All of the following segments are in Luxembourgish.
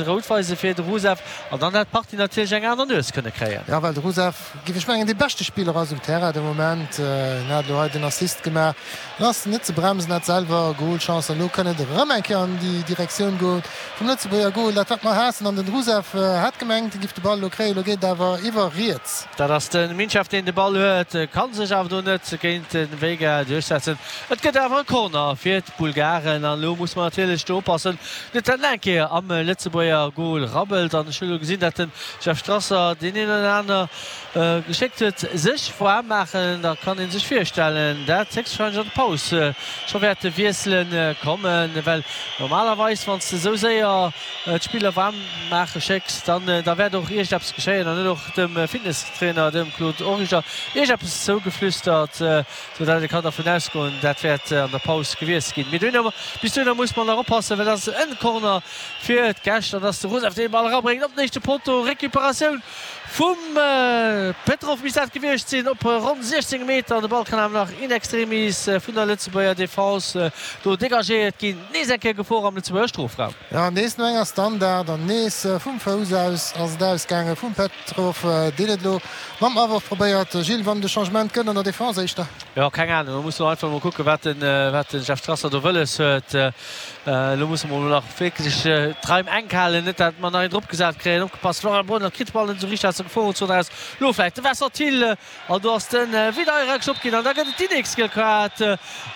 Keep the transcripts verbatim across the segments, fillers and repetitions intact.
Rout weise fir de Rusev an dann hätt d'Partie natierlech eng aner Nues kënne kréien. Jo, well de Rusev, géif ech mengen, dee beschte Spiller ass um Terrain de Moment. Hien hat elo hei den Assist gemaach. En ass net ze bremsen, hat selwer Golchancen. Elo kënn et erëm eng Kéier an déi Direktioun goen vum Lëtzebuerger Gol, dat wat mer haassen. An den Rusev hat gemengt, e giff de Ball elo kréien. Elo geet et awer iwwer riets. Dat ass de Minchev, deen de Ball huet, ka sech awer do net géint de Veiga duerchsetzen. Et gëtt awer e Corner fir d'Bulgaren an elo muss mer natierlech do oppassen, net dat nach eng Kéier am Lëtzebuerger Gol rabbelt. An ech hu elo gesinn, dat de Jeff Strasser deen een oder aner geschéckt huet, sech waarm maachen. Da kann ee sech virstellen, dat héchstwahrscheinlech an der Paus scho wäerte Wiessele kommen, well normalerweis, wann s de esou séier d'Spiller waarm maache schécks, dann da wäert och iergendeppes geschéien. An huet och dem Fitnesstrainer, dem Claude Origer, iergendeppes zougeflüstert, sou dat ee kann dervun ausgoen, dat wäert an der Paus gewiesselt ginn. Mee dohinner, bis dohinner muss mer nach oppassen, well dat ass en Corner fir d'Gäscht an dass de Rusev dee Ball erabréngt op den éischte Potto. Recuperatioun vum Petrov misst dat gewiescht sinn op ronn siechzéng Meter an de Ball kann awer nach in extremis vun der Lëtzebuerger Defense do degagéiert ginn. Nees eng Kéier Gefor am Lëtzebuerger Strofraum. Jo, nees no enger Standard an nees vum Fouss aus ass et ausgaange vum Petrov, deen et elo mam Aworf probéiert. Gilles, wann et e Changement gëtt an der Defense éischter? Jo, keng Ahnung, do muss mer einfach mol kucken, wat den, wat den Jeff Strasser do wëlles huet. Elo musse mer mol nach wierklech d'Raim enk halen, net dat mer nach een drop gesat kréien. Opgepasst, Florian Brunner kritt de Ball net esou richteg aus der Geforenzon eraus. Elo vläicht de Vincent Thill an do ass de Videira gestoppt ginn an da gëtt et déi nächst giel Kaart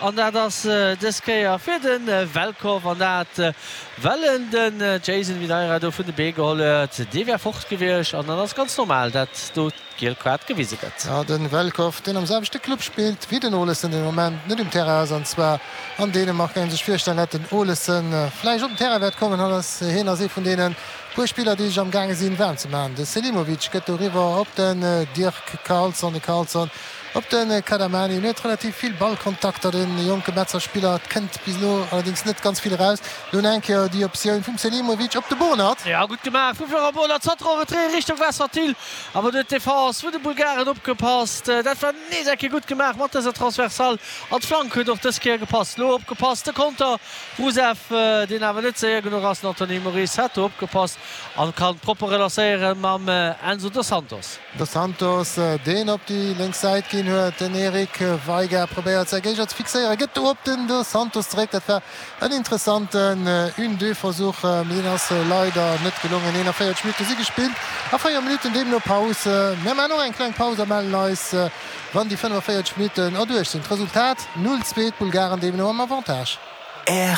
an dat ass dës Kéier fir de Velkov an dat well en den Jason Videira do vun de Bee geholl huet. Dee wär fort gewiescht an dann ass ganz normal dat do d'giel Kaart gewise gëtt. Jo, de Velkov, deen am selwechte Club spillt wéi den Olesen, den Moment net um Terrain ass, an zwar an Dänemark. Kann ee sech virstellen, dat den Olesen vläicht op den Terrain wäert kommen. Hatt ass, hien ass ee vun deene puer Spiller, déi sech am gaange sinn, waarm ze maachen. De Selimovic gëtt doriwwer op den Dirk Carlson, de Carlson op de Kadamani. En huet relativ vill Ballkontakter, de jonke Metzer Spiller. Et kënnt bis elo allerdéngs net ganz vill eraus. Elo nach eng Kéier déi Optioun vum Selimovic op de Bonert. Jo, gutt gemaach vum Florent Bonert. Zanter en Retrait Richtung Wasserthiel. Awer do huet d'Defense vun de Bulgaren opgepasst. Dat war nees eng Kéier gutt gemaach mat dëser Transversale. An d'Flank huet och dës Kéier gepasst. Elo opgepasst, de Konter. Rusev, deen awer net séier genuch ass. Den Anthony Moris hat do opgepasst an kann propper relancéiere mam Enzo Dos Santos. Dos Santos, deen op déi lénks Säit ginn huet. Den Eric Veiga probéiert säi Géigner ze fixéieren, gëtt do op den Dos Santos zeréck. Dat war en interessanten Une-Deux-Versuch, mee deen ass leider net gelongen. eenanvéierzeg Minutte si gespillt a véier Minutten deemno Paus. Mir maachen och eng kleng Paus a mellen eis, wann déi fënnefenvéierzeg Minutten erduerch sinn. D'Resultat, null zwee, d'Bulgaren deemno am Avantage. R.